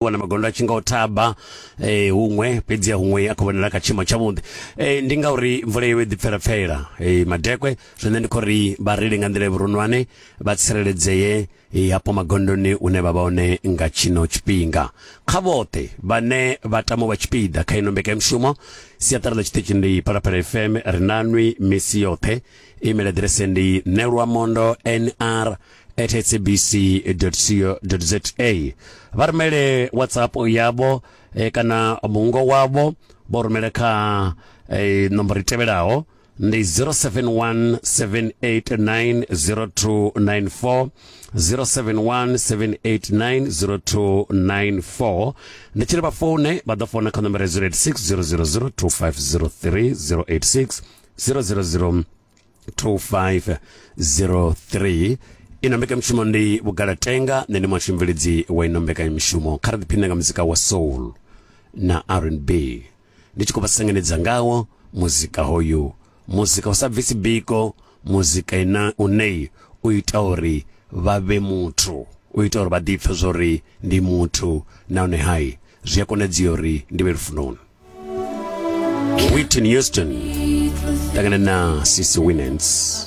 Wana magondo a tshi nga o thaba huṅwe, fhedzi huṅwe a khou vhonala kha tshiimo tshavhuḓi. Ndi ngauri mvula yo ḓi pfela pfela madekwe, zwine ndi khou ri vhareili nga nḓila ya vhuronwane vha tsireledzee hafho magondoni hune vha vha hone nga tshino tshifhinga. Kha vhoṱhe vhane vha tama u vha tshipiḓa kha ino mbekanyamushumo, siaṱari ḽa tshiṱitshi ndi Phalaphala FM, ri na nwi misi yoṱhe. Email aḓirese ndi nelwamondo nr at sabc.co.za. Vha rumele WhatsApp yavho kana mungo wavho vho rumele kha nomboro i tevhelaho ndi 0717890294, 0717890294. Ndi tshi ri vha foune, vha ḓo founa kha nomboro ya 086 000 2503, 086 000 2503. Ino mbekanyamushumo ndi Vhugalatenga, nṋe ndi muhasho mubveledzi wa ino mbekanyamushumo. Kha ri ḓiphine nga muzika wa soul na R&B, ndi tshi khou vha sengenedza ngawo muzika hoyu, muzika u sa bvisi biko, muzika ina une u ita uri vha vhe muthu, u ita uri vha ḓipfe zwori ndi muthu, nahone hai zwi a konadzea uri ndi vhe lufunoni. Whitney Houston ṱangana na Cece Winans.